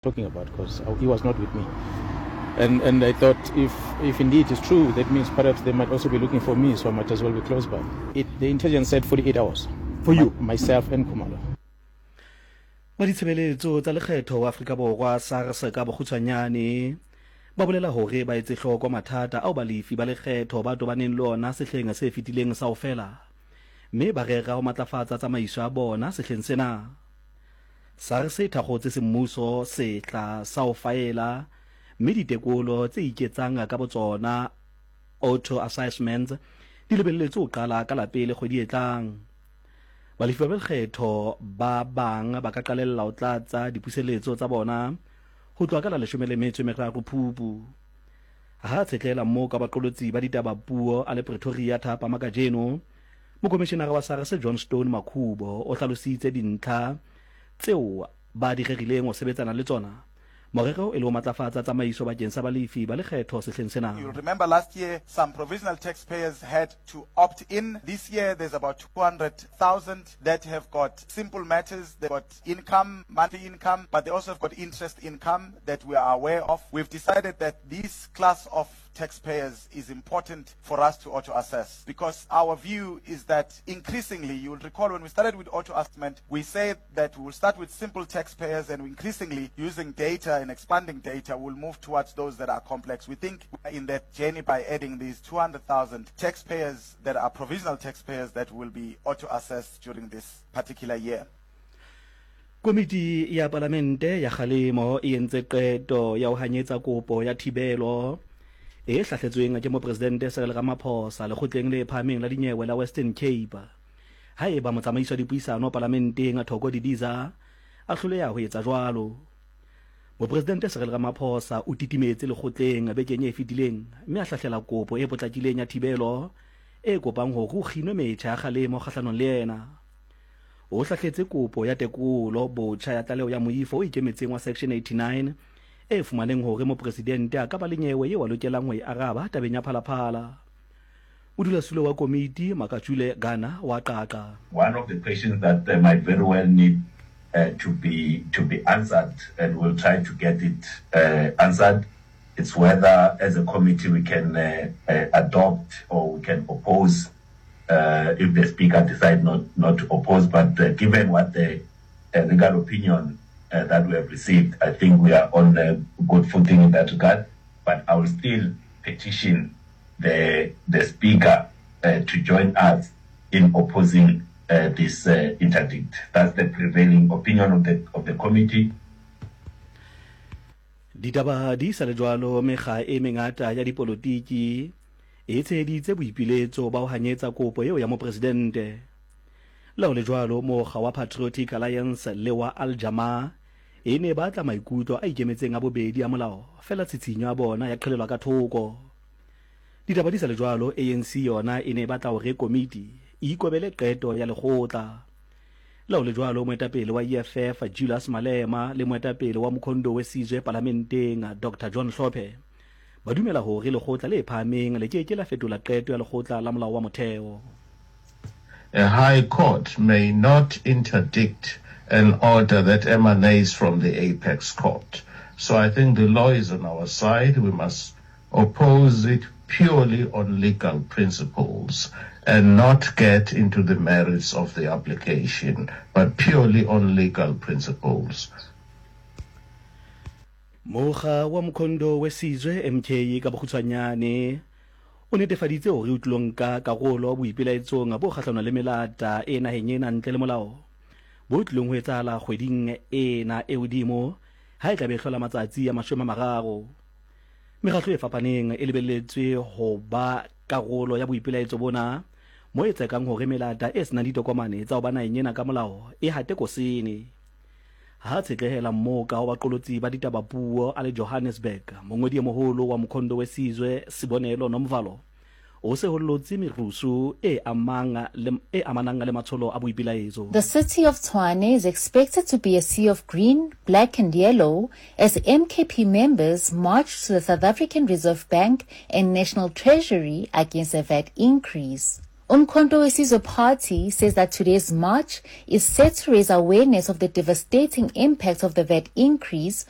Talking about because he was not with me. And, and I thought if, if indeed it's true, that means perhaps they might also be looking for me, so I might as well be close by. It, the intelligence said 48 hours. For you? My, myself and Kumalo. Ba ditshebeletso tsa lekgetho wa Afrika Borwa SARS ka bokgutshwanyane ba bolela hore ba etse hloko mathata ao balefi ba lekgetho ba tobaneng le ona sehleng se fetileng sa ho fela mme ba rera ho matlafatsa tsamaiso ya bona sehleng sena. SARS e thakgotse semmuso sehla sa ho faela mme ditekolo tse iketsang ka botsona, auto-assessments, di lebelletswe ho qala ka la pele kgwedi e tlang. Balefi ba lekgetho ba bang ba ka qalella ho tlatsa dipuseletso tsa bona ho tloha ka la 13 Phupu. Ha a tshetlela moo ka baqolotsi ba ditaba puo a le Pretoria thapama kajeno, Mokomishenara wa SARS Johnstone Makhubo o hlalositse dintlha tseo ba di rerileng ho sebetsana le tsona, morero e le ho matlafatsa tsamaiso bakeng sa balefi ba lekgetho sehleng sena. You'll remember last year some provisional taxpayers had to opt in. This year there's about 200,000 that have got simple matters. They've got income, monthly income, but they also have got interest income that we are aware of. We've decided that this class of taxpayers is important for us to auto-assess because our view is that increasingly, you will recall when we started with auto-assessment, we said that we will start with simple taxpayers and increasingly using data and expanding data, we'll move towards those that are complex. We think in that journey by adding these 200,000 taxpayers that are provisional taxpayers that will be auto-assessed during this particular year. Komiti ya Palamente ya Kgalemo e entse qeto ya ho hanyetsa kopo ya thibelo e hlahletsweng ke Mopresidente Cyril Ramaphosa Lekgotleng le Phahameng la Dinyewe la Western Cape haeba motsamaisi wa dipuisano Palamenteng Thoko Didiza a hloleha ho etsa jwalo. Mopresidente Cyril Ramaphosa o titimetse lekgotleng bekeng e fetileng mme a hlahlela kopo e potlakileng ya thibelo e kopang hore ho kginwe metjha ya kgalemo kgahlanong le yena. O hlahletse kopo ya tekolo botjha ya tlaleho ya moifo o ikemetseng wa Section 89 e fumaneng hore mopresidente a ka ba le nyewe yeo a lokelang ho e araba tabeng ya Phala-Phala. Modulasetulo wa komiti, Makatjule Gana wa qaqa. One of the questions that might very well need to be to be answered and we'll try to get it answered it's whether as a committee we can adopt or we can oppose uh, if the speaker decide not, not to oppose. But uh, given what the uh, legal opinion uh, that we have received, I think we are on a good footing in that regard. But I will still petition the, the speaker uh, to join us in opposing uh, this uh, interdict. That's the prevailing opinion of the, of the committee. Ditaba di sa le jwalo, mekga e mengata ya dipolotiki e tsheheditse boipiletso ba ho hanyetsa kopo eo ya mopresidente. Le ha ho le jwalo, mokga wa Patriotic Alliance le wa Al Jama-ah e ne e batla maikutlo a ikemetseng a bobedi a molao, feela tshitshinyo ya bona ya qhelelwa ka thoko. Ditaba di sa le jwalo, ANC yona e ne e batla hore komiti e ikobele qeto ya lekgotla. Le ha ho le jwalo, moetapele wa EFF Julius Malema le moetapele wa Mkhonto we Sizwe palamenteng Doctor John Hlophe ba dumela hore lekgotla le phahameng le ke ke la fetola qeto ya lekgotla la molao wa motheo. A high court may not interdict an order that emanates from the apex court. So I think the law is on our side. We must oppose it purely on legal principles and not get into the merits of the application, but purely on legal principles. Mokga wa Mkhonto we Sizwe, MK ka bokgutshwanyane, o netefaditse hore o tlilo nka karolo boipelaetsong bo kgahlano le melata e naheng ena ntle le molao, bo tlilong ho etsahala kgweding ena e hodimo ha e tla be e hlola matsatsi a 30. Mekgatlo e fapaneng e lebelletswe ho ba karolo ya boipelaetso bona, mo e tsekang hore melata e senang ditokomane tsa ho ba naheng ena ka molao e hate kosene. Ha tshetlehela mmoka wa baqolotsi ba ditaba puo a le Johannesburg, mongodi e moholo wa Mkhonto we Sizwe, Sibonelo Nomvalo, o sehollotse merusu e amang le e amanang le matsholo a boipelaetso. The city of Tshwane is expected to be a sea of green, black and yellow as MKP members march to the South African Reserve Bank and National Treasury against a VAT increase. Umkhonto weSizwe Party says that today's march is set to raise awareness of the devastating impact of the VAT increase